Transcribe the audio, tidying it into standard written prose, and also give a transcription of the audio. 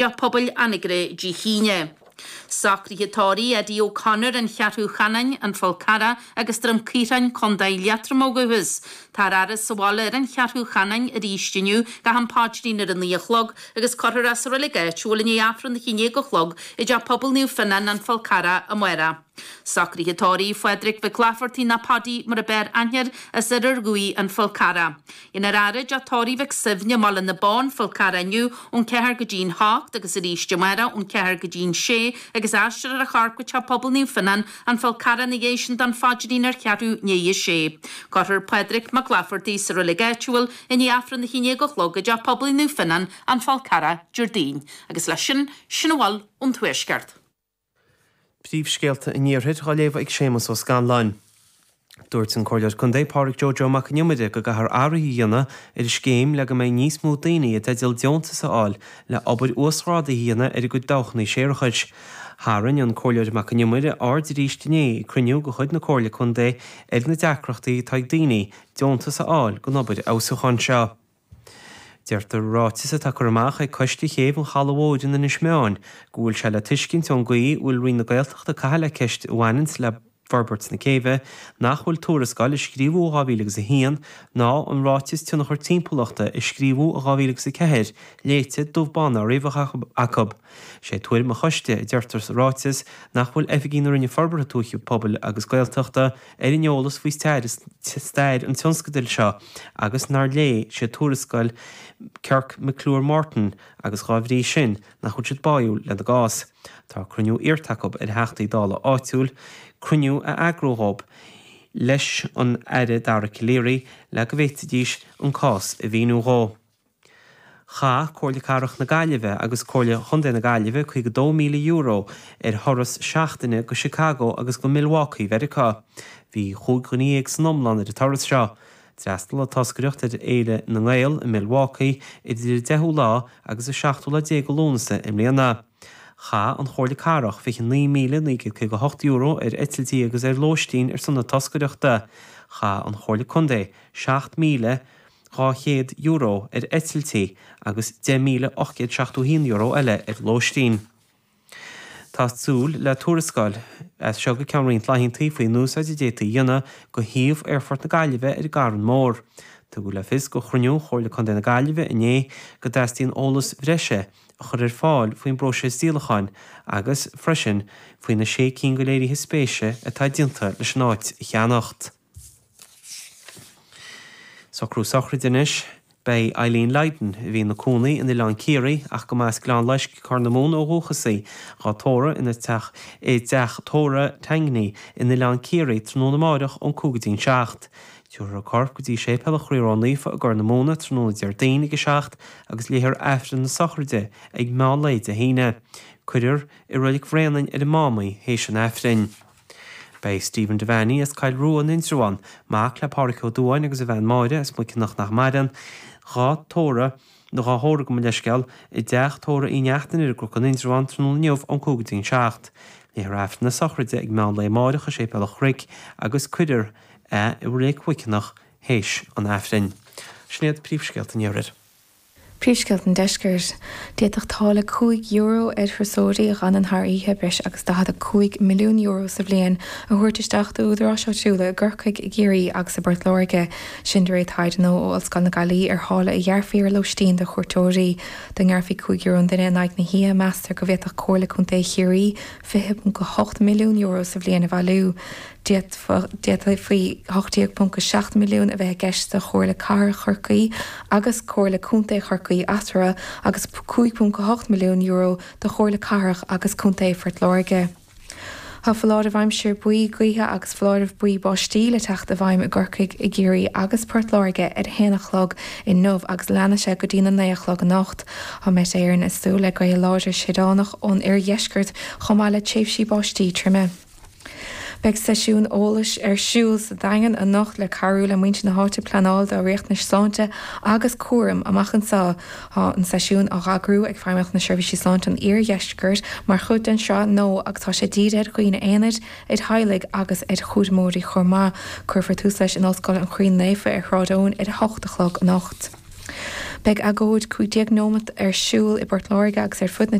Teach Pobail Anagaire Dé hAoine. Socruithe tórraimh Eddie O'Connor, An Cheathrú Chanáin, An Fál Carrach agus Droim Caorthainn, Co. Liatroma ó dhúchas. Táthar á fhaire sa bhaile ar An Cheathrú Chanáin arís inniu go ham paidrín ar a 9 a chlog agus cuirfear é sa reilig áitiúil i ndiaidh Aifreann a 11 a chlog i dTeach Pobail Naomh Fionnán, An Fál Carrach amárach. Socruithe tórraimh Phádraig Mhic Laifeartaigh nó Paddy mar a b'fhearr aithne air as Iarthar Dhuibhigh, An Fál Carrach. Dhéanfar a fhaire i dteach tórraimh Mhic Suibhne i mBaile na Bó, An Fál Carrach inniu ón 4 go dtí'n 8 agus arís amárach ón 4 go dtí'n 6 agus aistreofar a chorp go Teach Pobail Naomh Fionnán, An Fál Carrach ina dhiaidh sin don phaidrín ar cheathrú i ndiaidh a sé. Cuirfear Pádraig Mac Laifeartaigh sa reilig áitiúil i ndiaidh Aifreann a 11 a chlog i dTeach Pobail Naomh Fionnán, An Fál Carrach, Déardaoin. Agus leis sin, sin a bhfuil ón Tuaisceart. Príomhscéalta an Iarthair á léamh ag Séamus Ó Scanláin. Dúirt an Comhairleoir Contae Pádraig Joe Joe Mac an Iomaire go gcaithfear athruithe a dhéanamh ar an scéim le go mbeidh níos mó daoine i dteideal deontas a fháil le obair uasghrádaithe a dhéanamh ar a gcuid dabhchanna séarachais. Tharraing an Comhairleoir Mac an Iomaire aird arís inné ag cruinniú de chuid na Comhairle Contae ar na deacrachtaí atá ag daoine deontas a fháil don obair fheabhsúcháin seo. Deirtear i ráiteas atá curtha amach ag Coiste Chéibh an Chalaidh Mhóir in Inis Meáin go bhfuil sé le tuiscint ón gcaoi a bhfuil Roinn na Gaeltachta ag caitheamh le ceist a bhaineanns le forbairt na céibhe nach bhfuil tuarascáil a scríobhadh i 2001 ná an Ráiteas Tionchar Timpeallachta a scríobhadh i 2004 léite dubh bán ná riabhach acu. Sé tuairim an choiste, a deirtear sa ráiteas, nach bhfuil oifigigh na Roinne Forbartha Tuaithe Pobail agus Gaeltachta ar an eolas faoi stair an tionscadail seo agus nár léigh siad tuarascáil Kirk McClure Morton agus dhá bhrí sin nach bhfuil siad báúil lena gcás. Tá cruinniú iarrta acu ar Theachtaí Dála áitiúil cruinniú a eagrú dhóibh leis an Aire Dara Calleary le go bhféadfaidís an cás a mhíniú dhó. Chaith Comhairle Cathrach na Gaillimhe agus Comhairle Chontae na Gaillimhe €52,000 ar thuras seachtaine go Chicago agus go Milwaukee Mheiriceá. Bhí chúig dhuine dhéag san iomlán ar an turas seo. D'fhreastail an toscaireacht ar Fhéile na nGael i Milwaukee idir an 10ú lá agus an seachtú lá déag de Lúnasa i mbliana. Chaith an Chomhairle Cathrach €29,958 ar eitiltí agus ar lóistín ar son na toscaireachta. Chaith an Chomhairle Contae €7,000. €200 ar eitiltí agus €10,871 eile ar lóistín. Tá súil le tuarascáil as seo go ceann roinnt laethanta faoin úsáid a d'fhéadfaí a dhéanamh de shuíomh Aerfort na Gaillimhe ar an gCarn Mór. Tugadh le fios ag cruinniú Chomhairle Contae na Gaillimhe inné go dteastaíonn eolas bhreise a chur ar fáil faoin bpróiseas díolacháin agus freisin faoi na sé cinn de léirithe spéise atá déanta leis an áit a cheannacht. Socrú sochraide anois. Beidh Eileen Lydon, a bhí ina cónaí in Oileán Ciarraí ach go mba as Gleann Loisc, Corr na Móna ó dhúchas í, dhá tórramh ina teach i dteach tórraimh Tangney in Oileán Ciarraí tráthnóna amáireach ón 5 go dtí'n 7. Tabharfar a corp go dtí Séipéal an Chroí Ró-Naofa i gCorr na Móna tráthnóna Déardaoin ag 7 agus léifear Aifreann na sochraide ag meán lae Dé hAoine. Cuirfear i Reilig Bhréanainn ar an Mám í théis an Aifrinn. Beidh Stephen Devaney as Coill Rua in Indreabhán, mac le Pádhraic Ó Dubháin agus a bhean Máire as Muiceanach nach maireann, dhá tórramh, nó dhá thórramh gabh mo leithscéal, i dteach tórraimh Uí Neachtain ar an gCnoc in Indreabhán tráthnóna inniu ón 5 go dtí'n 7. Léifear Aifreann na sochraide ag meán lae amáireach i Séipéal an Chnoic agus cuirfear é i Reilig Mhuiceanach théis an Aifrinn. Sin iad príomhscéalta an Iarthair. Príomhscéalta an Deiscirt. D'fhéadfadh táille €5 ar thurasóirí a dh'fhanann thar oíche breis agus €45 milliún sa bhliain a thabhairt isteach d'údaráis áitiúla i gCorcaigh, i gCiarraí agus i bPort Láirge. Sin de réir taighde nua ó Ollscoil na Gaillimhe ar tháille a ghearrfaí ar lóistín do chuairteoirí. Dá ngearrfaí €5 an duine in aghaidh na hoíche, meastar go bhféadfadh Comhairle Contae Chiarraí €20.8 milliún sa bhliain a bhailiú. D'fhéadfaí 18.7 milliún a bheith i gceist do Chomhairle Cathrach Chorcaí agus Comhairle Contae Chorcaí eatarthu agus €5.8 milliún do Chomhairle Cathrach agus Contae Phort Láirge. Tá foláireamh aimsire buí gaoithe agus foláireamh buí báistí le teacht i bhfeidhm i gCorcaigh, i gCiarraí agus Port Láirge ar a haon a chlog inniu agus leanfaidh sé go dtí'n 9 a chlog anocht. Tá Met Éireann ag súil le gaoth láidir séideánach ón oirdheisceart chomh maith le tréimhsí báistí troime. Beidh seisiún eolais ar siúl sa Daingean anocht le cabhrú le muintir na háite pleanáil dá riachtanais sláinte agus cúraim amach anseo. Tá an seisiún á eagrú ag Feidhmeannacht na Seirbhísí Sláinte an Iardheiscirt mar chuid den sraith nua agus tá sé dírithe ar dhaoine aonair, ar theaghlaigh agus ar chúramóirí chomh maith. Cuirfear tús leis in Ollscoil an Chroí Naofa ar Shráid Eoin ar a hocht a chlog anocht. Beidh agóid 15 nóimeat ar siúl i bPort Láirge agus ar fud na.